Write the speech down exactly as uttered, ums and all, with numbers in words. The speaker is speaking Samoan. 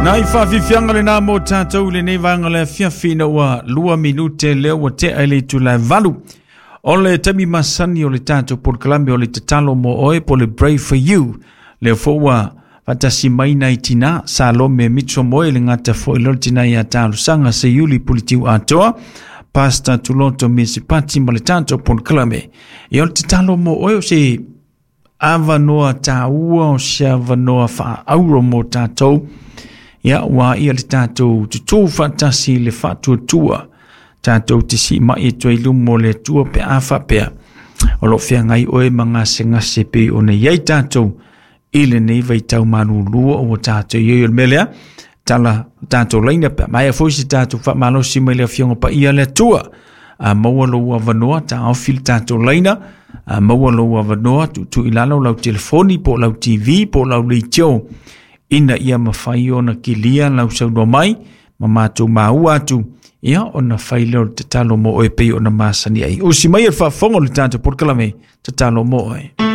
Nai whawhiwhianga le nā mō tātou le nei vanga le fiafi na ua lua minute lea ua tea i le itula e valu. O le taimi masani o le tātou polokalame o le tatalo mo oe po le Pray for You. Lea foi ua faatasi mai nai tina Salome Mitso Moe le gata foi lea o le tina ia Talosaga Seiuli Puletiu Atoa, Pastor Tuloto Mesipati ma le tātou polokalame. Ia o le tatalo mo oe o se avanoa tāua o se avanoa faaauro mo tātou. Ia ua ia le tātou tutū faatasi le faatuatua. Tātou te si mai e toi lumo le tua pe a faapea. O lo feagai oe ma gasegase pei ona i ai tātou i lenei vaitau malulua o tātou i ai o le mea lea. Tala tātou laina pe maea foi se tātou faamalosi mai le afioga paia le Atua. A maua lou avanoa taofi le tātou laina. A maua lou avanoa tuutuu i lalo lau telefoni po o lau T V po o lau leitio. Ina ia mafai ona kilia lau saunoa mai ma matou maua atu. Ia ona fai lea o le tatalo mo oe pei ona masani ai. Usi mai e le faafofoga o le tatou polokalame tatalo mo oe.